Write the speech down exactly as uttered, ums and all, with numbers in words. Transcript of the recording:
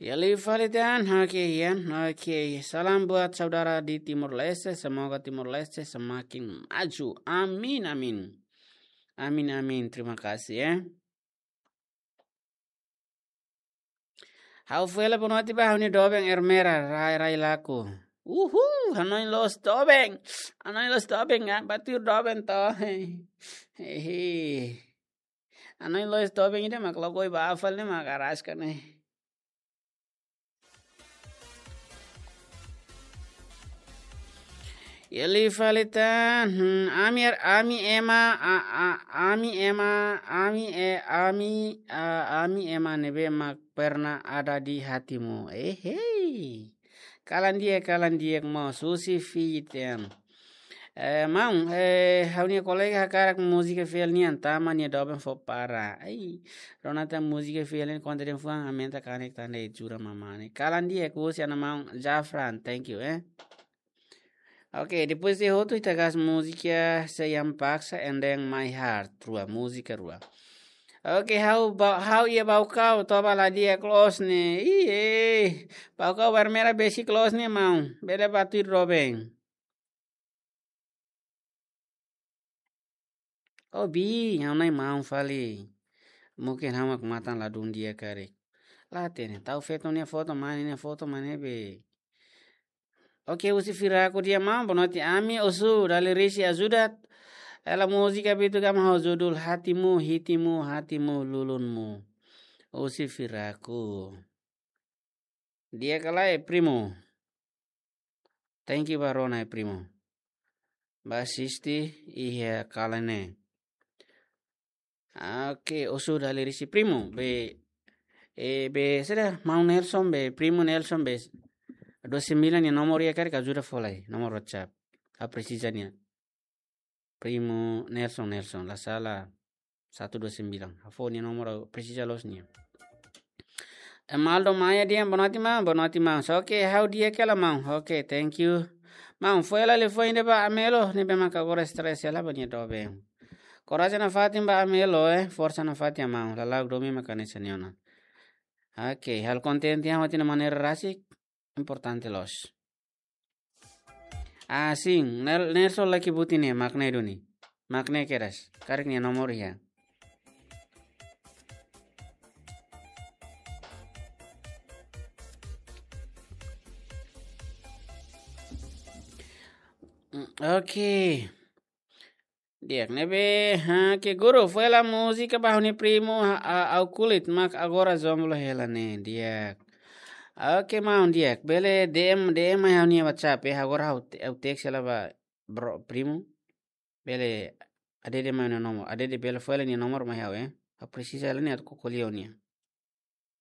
Ya, liu fali tan, oke, ya, oke. Salam buat saudara di Timor Leste, semoga Timor Leste semakin maju. Amin, amin. Amin, amin. Terima kasih, ya. Ha'u fila bonoite ba ha'u-nia doben Ermera, rai-rai laku. Uhu, hanoin loos doben. Hanoin loos doben, ya, ba tuir doben to. Hehe. Hanoin loos doben ida mak lagoi ba afal ne'e mak araska ne'e. Ya, liu fali tan, hmm, ami, ami ema, a, a, ami ema, ami, e, ami, a, ami ema ne'ebé mak pernah ada di hatimu. Eh, hei. Kalan di'ak, kalan di'ak maun, husi Fiji tan. Eh, maun, eh, ha'u-nia kolega hakarak múzika fiel nian, tama nia doben fó para. Ai, rona tan múzika fiel nian konta den fuan, aumenta kanek tan de'it, jura mamani. Kalan di'ak, husi ona maun Jafran, thank you, eh. Oke, depois de hotu ita gas múzika Se Yang Paksa and then My Heart, rua, múzika rua. Oke, ha'u ba, ha'u iha Baucau, toba la di'ak loos ne'e. Iye, Baucau ba Ermera besik loos ne'e maun. Bele ba tuir doben. Oh, bi, ha'u-nia maun fali. Mungkin ha'u mak matan ladún di'ak karik. La hatene, tau feto nia foto, mane nia foto, mane be. Oke, husi Firaku di'ak maun, bonoite ami, Osu, Dali Risi ajuda. Hela múzika Bitu Gama ho judul Hatimu, Hitimu, Hatimu, Lulunmu. Husi Firaku. Di'ak ka lae, primo? Thank you ba rona, eh, primo. Ba asisti iha kalan ne'e. Oke, Osu Dali Risi, primo. Be, eh, be, saida, maun Nelson, be, primo Nelson, be, dua sembilan nia nomor iha karik, ajuda fó lai, nomor WhatsApp. Ha'u presiza nia. Primo Nelson, Nelson, la sala, satu dua sembilan. Ha'u fó nia nomor, ha'u presiza loos nia. Emaldo Maia di'ak, bonoite maun, bonoite maun. So, oke, ha'u di'ak hela maun. Oke, thank you. Maun, fó hela liafuan ida ba Amelo, ne'ebé mak agora stress hela ba nia doben. Korajen nafatin ba Amelo, eh, forsa nafatin maun. Lala'ok domin mak hanesan ne'e ona. Oke, halo kontente ha'u tiha ona maneira rasik, importante loos. Ah, sin, Nel-, Nelson laki buti ne'e, mak ne'e duni. Mak ne'e kedas. Karik nia nomor iha. Mm, oke. Di'ak, ne'ebé, ha, ke guru, fó hela múzika ba ha'u-nia primo, ha, a, au kulit, mak agora jomblo hela ne'e, di'ak. Oke, maun, di'ak. Bele D M, D M mai ha'u-nia WhatsApp, eh, agora ha'u te-, ha'u teks hela ba, bro, primo. Bele, adede mai nia nomor, adede bele fó hela nia nomor mai ha'u, eh. Ha'u presiza hela nia atu ko'alia ho nia.